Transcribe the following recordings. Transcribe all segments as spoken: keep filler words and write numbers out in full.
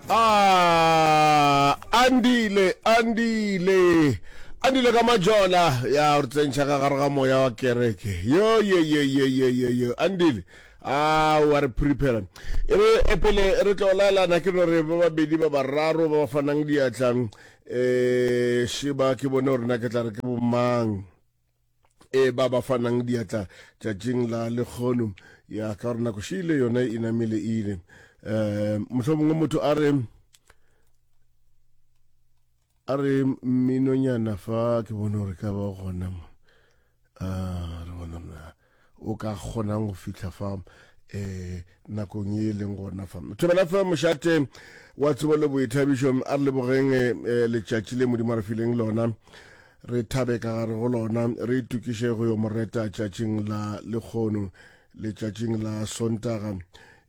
Ah, Andile, Andile. Andile ka majola ya re tsentšha ka gare ga moya wa kereke. Yo ye ye ye ye ye yo Andile. Ah, wa re prepare. E re e pele re tlo laelana ke no re ba babedi ba bararo ba ba fanang diatla eh sheba ke bone gore na ke tla re ke bomang e ba ba fanang diatla tšatšing la lekgono ya ka gore nako šile yona e namile ile um mohlomongwe motho a re a re mminonyana fa ke bone gore ka ba gona mo a re bona na o ka kgonang go fihla fa um nakong ye e leng gona fa. Thobela fa mošate wa tsebo le boithabišo, a re lebogeng eh, letšatši le Modimo a re fileng lona, re thabe ka gare go lona, re itokiše go yo mo reta tšatšing la lekgono, letšatšing la Sontaga.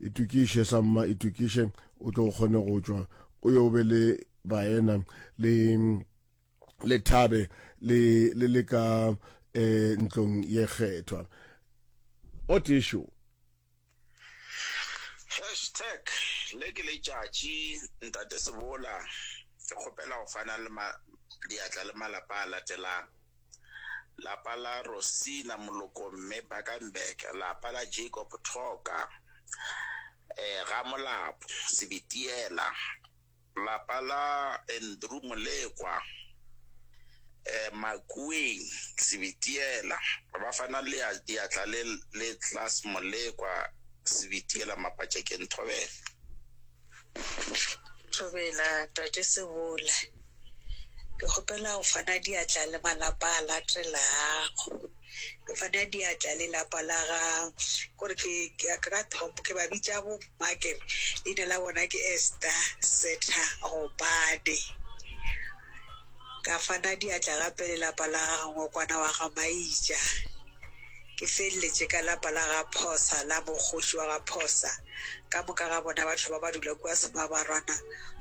Itokiše samma, itokiše o tlo kgone go tšwa o yo be le baena le le thabe le le le ka eh, ntlong ye kgethwa. O tešo. Hashtag le ke letšatši Ntate Sebola ke kgopela go fana le ma, diatla le malapa a latelang lapa la Rosina Moloko mme Bakenberg lapa la Jacob Thoka eh, ga Molapo Sebitiela lapa la Andrew Molekwa eh, Makueng Sebitiela ba fana le diatla le le Class Molekwa Sebitiela Mapatšekeng Thobela. Thobela Tate Sebola, ke kgopela go fana diatla le malapa a latelago. Ke fana diatla le lapa la ga kore ke ke ka top ke ba bitša bo mma ke leina la bona ke Esther Setha Gopane. Ka fana diatla gape le lapa la ga Ngokwana wa ga Maija. Ke feleletše ka lapa la ga Phosa la mokgoši wa ga Phosa. Ka moka ga bona batho ba ba dula kua Semabarwana.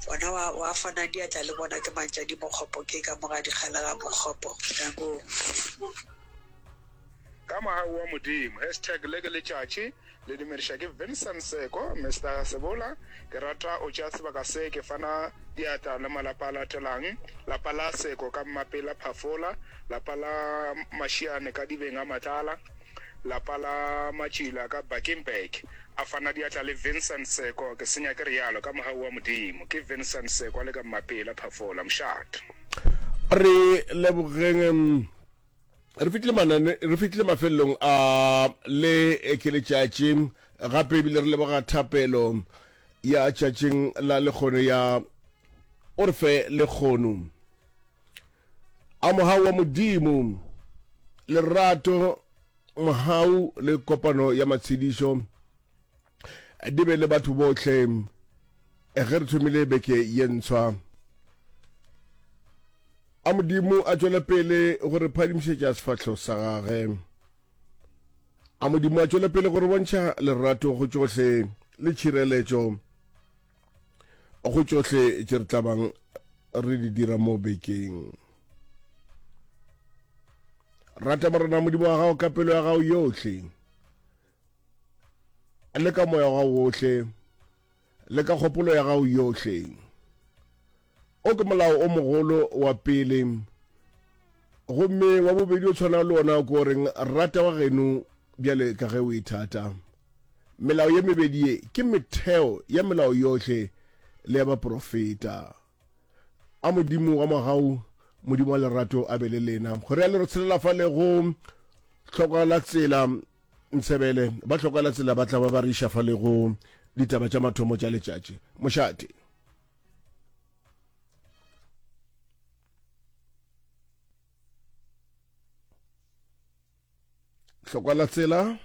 Bona wa, wa fana diatla le bona ke Mantšadi Mokgopo ke ka moga dikgale ga Mokgopo. Danko. Ka mogau wa Modimo. Hashtag le ke letšatši le dumediša ke Vincent Seko, Mister Sebola, ke rata o tšea sebaka se ke fana diatla le malapa a latelang, lapa la Seko ka Mmapela Phafola, lapa la Mashiane ka Dibeng a Matlala, lapa la Matšila ka Bakenberg. A fana diatla le Vincent Seko, ke senya ke realo, ka mogau wa Modimo. Ke Vincent Seko a le ka Mmapela Phafola. Mošate. Re lebogeng re fitlile manane re fitlile mafelelong a le ke letšatši gape ebile re leboga thapelo ya tšatšing la lekgono ya o re fe lekgono a mogau wa Modimo lerato mogau le kopano ya matshedišo di be le batho bohle ge re thomile beke ye ntshwa. A Modimo a tšwele pele go re phadimišetša sefahlo sa gage. A Modimo a tšwele pele go re bontšha lerato go tšohle le tšhireletšo go tšohle tše re tlabang re di dira mo bekeng. Rata Morena Modimo wa gago ka pelo ya gago yohle, le ka moya wa gago wohle, le ka kgopolo ya gago yohle. O ke molao o mogolo wa pele, gomme wa bobedi o tshwana le ona ko reng rata wa geno bjale ka ge o ithata. Melao ye mebedi ye ke metheo ya melao yohle le ya baprofeta. A Modimo wa mogau, Modimo wa lerato a be le lena. Go realo re tshelela fa le go hlokwa la tsela Ntshebele, ba hlokwa la tsela ba tla ba ba re iša fa le go ditaba tša mathomo tša letšatši. Mošate. Hlokwa la tsela.